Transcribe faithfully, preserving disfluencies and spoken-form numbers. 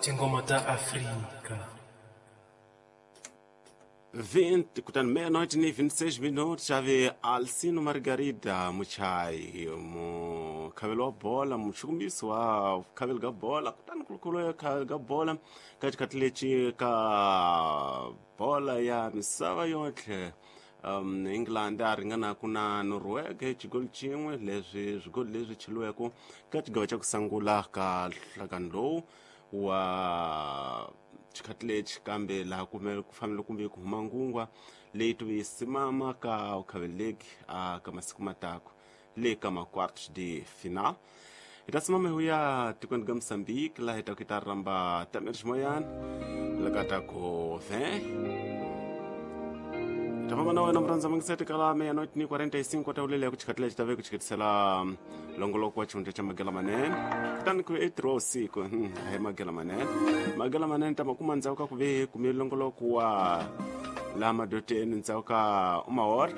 Tinghoma ta Afrika. vinte kutani meia-noite ni vinte e seis minutos ave Alcino Margarida Muchai mukhaveli wa bola muchukumisi wa khaveli ka bola kutani kulukulu ya khaveli ka bola ka xikhathi lexi ka bola ya misava yotlhe um England a ringanaku na Norway xigoli xin'we leswi swigoli leswi cheliweke ka xigava xa ku sungula ka nhlangano lowu wa xikhathi lexi kambe laha kumele ku fanele kumbe ku huma ngungwa leyi tuve yi simama ka ukhaveleki a ka masiku matako le ka ma-quartos de final hi ta simama hi ya tikweni ka Mozambique laha hi ta ku hi ta rhamba Tamir Ximoyana laka ta ku ve ta famba na wena murhandza mangiseti kala meia-noite ni quarenta e cinco ta ulele ku xikhathi lexi ta ve ku xiketisela longoloko wa xihundla xa Magela Manene kutani ku e ntirho wa vusiku a hi Magela Manene Magela Manene ta ma kuma ndzhaku ka ku ve kumile longoloko wa laha madoteni ndzhaku ka uma hora.